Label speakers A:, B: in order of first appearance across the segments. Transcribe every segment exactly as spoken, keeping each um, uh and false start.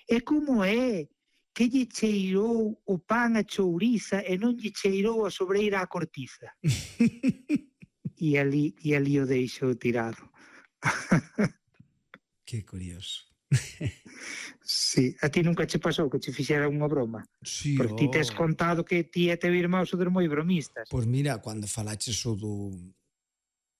A: É como é que lle cheirou o pan a chouriza e non lle cheirou a sobreira a cortiza. E ali, e ali o deixou tirado.
B: Que curioso.
A: Sí, a ti nunca che pasou que che fixera unha broma?
B: Sí,
A: Porque ti tes
B: oh.
A: contado que ti e teu irmão sodes moi bromistas.
B: Pois mira, cando falaches o do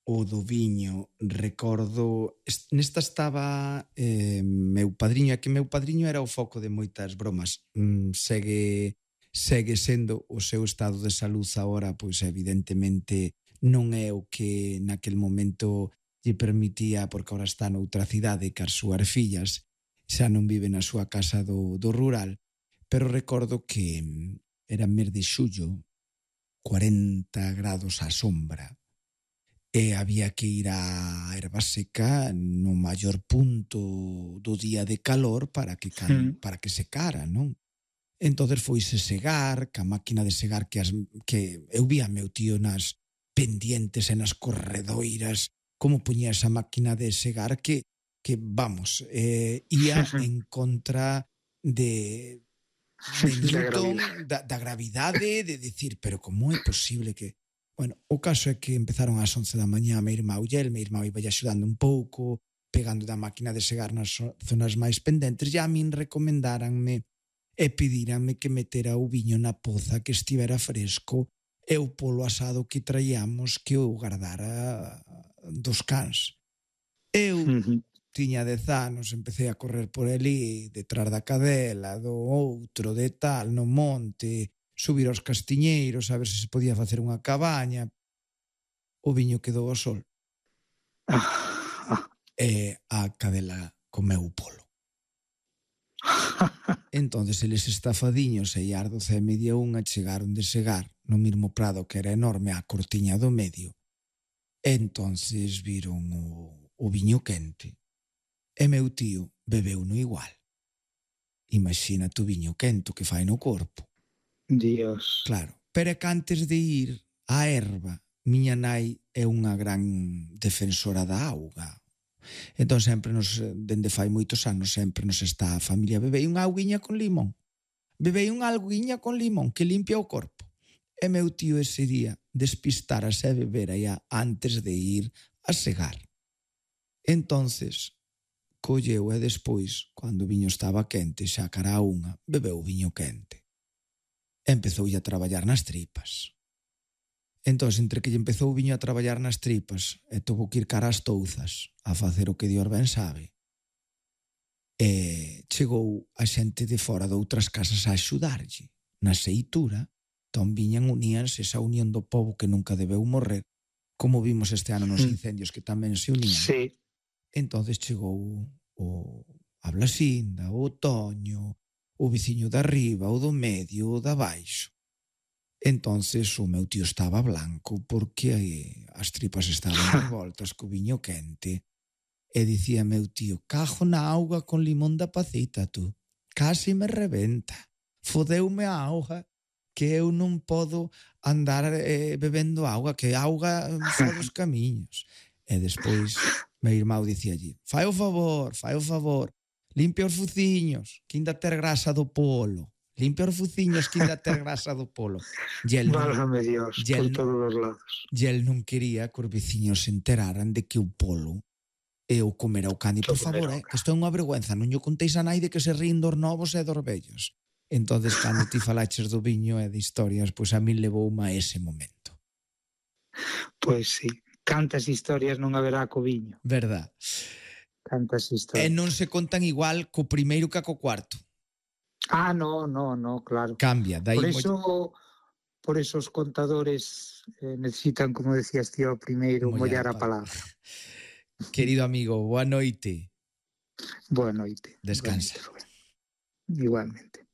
B: o do viño, recordo, nesta estaba eh, meu padriño, é que meu padriño era o foco de moitas bromas. Mm, segue segue sendo o seu estado de salud agora, pois evidentemente non é o que naquel momento lle permitía, porque agora está noutra cidade que as súas fillas xa non vive na súa casa do, do rural, pero recordo que era mes de xullo, cuarenta grados á sombra, e había que ir á erva seca no maior punto do día de calor para que can,
A: Mm.
B: para que secara, non? Entonces foise segar, ca máquina de segar que, as, que eu vía meu tío nas pendientes e nas corredoiras, como puñía esa máquina de segar que, que vamos, eh, ia en contra de, de Newton, da, da gravidade, de decir, pero como é posible que... Bueno, o caso é que empezaron ás once da mañá, meu irmão e el, meu irmão iba axudando un pouco, pegando da máquina de segar nas zonas máis pendentes, e a min recomendáranme e pedíranme que metera o viño na poza que estivera fresco e o polo asado que traíamos que o guardara dos cans. Eu uh-huh. tiña dez anos, empecé a correr por ali, detrás da cadela, do outro, de tal, no monte, subir aos castiñeiros, a ver se se podía facer unha cabaña. O viño quedou ao sol. E a cadela comeu o polo. Entonces eles estafadiños e as doce e media unha chegaron de segar no mesmo prado que era enorme a cortiña do medio. Entonces viron o, o viño quente e meu tío bebeu no igual. Imagina tu viño quente que fai no corpo.
A: Dios.
B: Claro, pero é que antes de ir á erva, miña nai é unha gran defensora da auga. Entón sempre nos, dende fai moitos anos, sempre nos está a familia, bebei unha auguiña con limón, bebei unha auguiña con limón que limpia o corpo. E meu tío ese día despistárase a beber allá antes de ir a segar. Entonces colleu e despois, cando o viño estaba quente, xa cara a unha, bebeu o viño quente. Empezou a traballar nas tripas. Entón, entre que lle empezou o viño a traballar nas tripas e tuvo que ir cara ás touzas a facer o que Dios ben sabe, e chegou a xente de fora de outras casas a axudarlle na seitura. Entón viñan, uníanse, esa unión do pobo que nunca debeu morrer, como vimos este ano nos incendios que tamén se unían.
A: Sí.
B: Entón chegou o a Blasinda, o Toño, o veciño de arriba, o do medio, o da baixo. Entonces o meu tío estaba blanco porque as tripas estaban revoltas co viño quente. E dicía meu tío, cajo na auga con limón da pacita, tú. Casi me rebenta. Fodeume a auga, que eu non podo andar eh, bebendo auga, que auga fora dos camiños. E despois meu irmão dicía allí, fai o favor, fai o favor, limpia os fuciños, que ainda ter grasa do polo. Limpia os fuciños que ainda ter grasa do polo.
A: Válgame Dios, por todos os lados.
B: E el non quería que os veciños se enteraran de que o polo e o comer ao cani. Por favor, eh, que isto é unha vergüenza, non lle contéis a nai de que se rín dos novos e dos vellos. Entonces, cando ti falaches do viño e de historias, pois a min levoume a ese momento.
A: Pois sí, cantas historias non haberá co viño.
B: Verdad.
A: Cantas historias.
B: E non se contan igual co primeiro que co cuarto.
A: Ah, no, no, no, claro.
B: Cambia. Dai
A: por eso,
B: mo...
A: por eso os contadores eh, necesitan, como decías tío, primeiro mollar a palabra.
B: Querido amigo, boa noite.
A: Boa noite.
B: Descansa.
A: Igualmente.